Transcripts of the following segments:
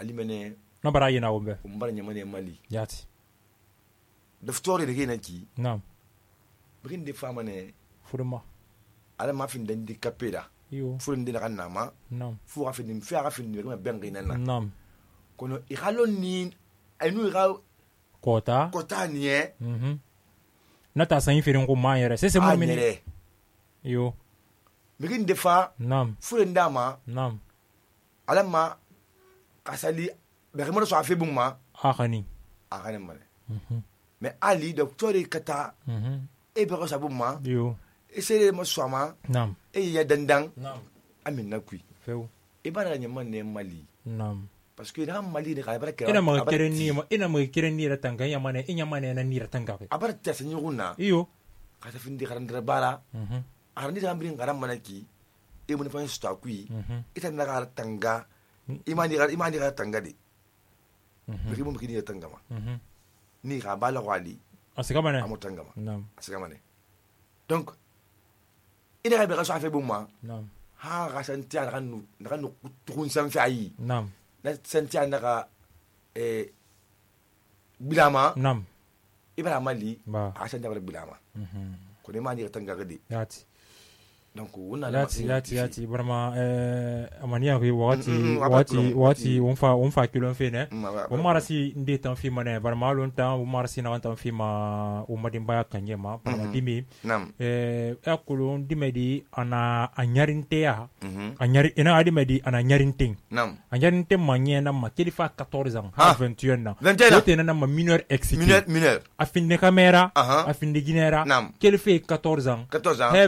alimene na bara yina wombe umbara nyamane mali yati daftori de gena ki nam begin de fama ne furma ala ma fin den di kapeda yo furin de na nama nam fu afin fi aga fin de ma bengi nana nam kono ikhalo ni anu ga kota ni na ta san firin ko ma yere c'est mo mini yo begin de fa nam furin dama nam ala ma kasali begin so afi bumma akhani mane mais ali docteur kata e be ko sabumma yo esere mo swama nam e ya dandang nam amin na kui feu e bara nyamane mali nam parce que na mali de ka bara kera ina ma keren ni ratanga yamane inyamane na ni ratanga be abara tasa nyuguna iyo ka ta findi karandra bara arandi da ambrin garam manaki e mun fa sta kui ita na ka tanga imani ka tanga de bigi mo kini tanga ma ni ka bala wali asikamane amutanga ma nam asikamane donc ina ka be ka so afa bumma nam ha ka santia na kanu tukun sanfi ayi nam na santia na ka bilama nam ibara mali ba a santia bara bilama ko ne mani ka tanga gadi yati donc wona yati vraiment amania ko wati on fa kilon fe ne o marasi nde tan fi mane vraiment longtemps o marasi na tan fi ma o madimba kanyema para dimi akulon dimedi ana anyarintea anyari ina adimedi ana nyarinting anyarinte manye na ma kelifa 14 ans 21 ans wote na ma mineur excité mineur afinde camera afinde ginera kelifa 14 ans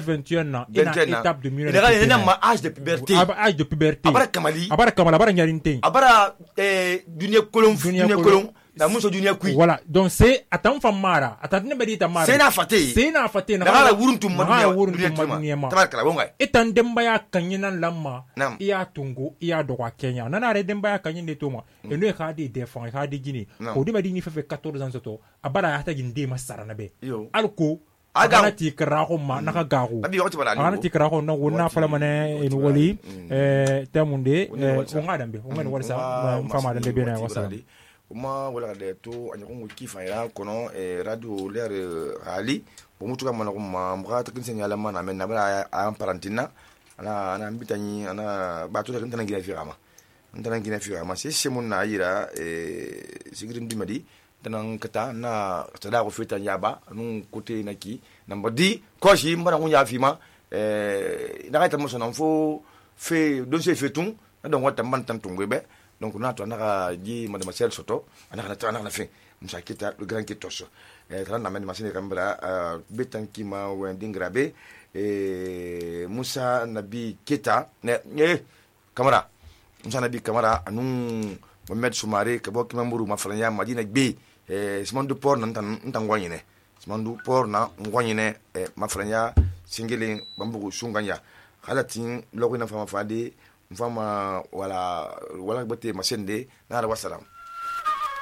21 ans étape de minorité. Il y a âge de puberté. Âge de puberté. Abara kamali. Abara nyarinté. Abara dunia kolon. La muso dunia kui. Voilà. Donc c'est atam famara. Atatne bedi tamara. C'est na fate. Na la wuruntum dunia. Tabarkala bonga. Etan dembaya kanyina lamma. Iya tungo iya doka Kenya. Nana re dembaya kanyine toma. Eno e khadi défend, khadi gini. Ko di bedi ni fe 14 ans soto. Abara hata ginde masara nabe. Alko agana tikraho ma naka garu agana tikraho na wona fala mane en wali tamunde o ngadambe o ngani walsa fama dande bena wasa uma wala de to anyakungu kifaira kono radio l'air rali bomutuka mana ko ma mga takin senyala mana men na bala am parantina ana mbitani ana batu da ntana gina firama c'est mon na ira sigrim dimadi tanan kata na tada ko feta yaba nun kote naki namba di ko shi mbara ngunya fima na ka tamuso nan fo fe don se fetun na don wata man tan tungwebe donc na to na ji madama sel soto ana na fe musa kita le grand kitos tan na men machine kambra betan kima wending grabe Musa Nabi Keta ne kamera Musa Nabi kamera anun Mohamed Soumare kabo kimamburu mafalanya Madina B simandu por nan tan wanyine simandu por na wanyine mafalanya singele bambugu sunganya halatin lokina fama fade mfama wala bate masende na wasalam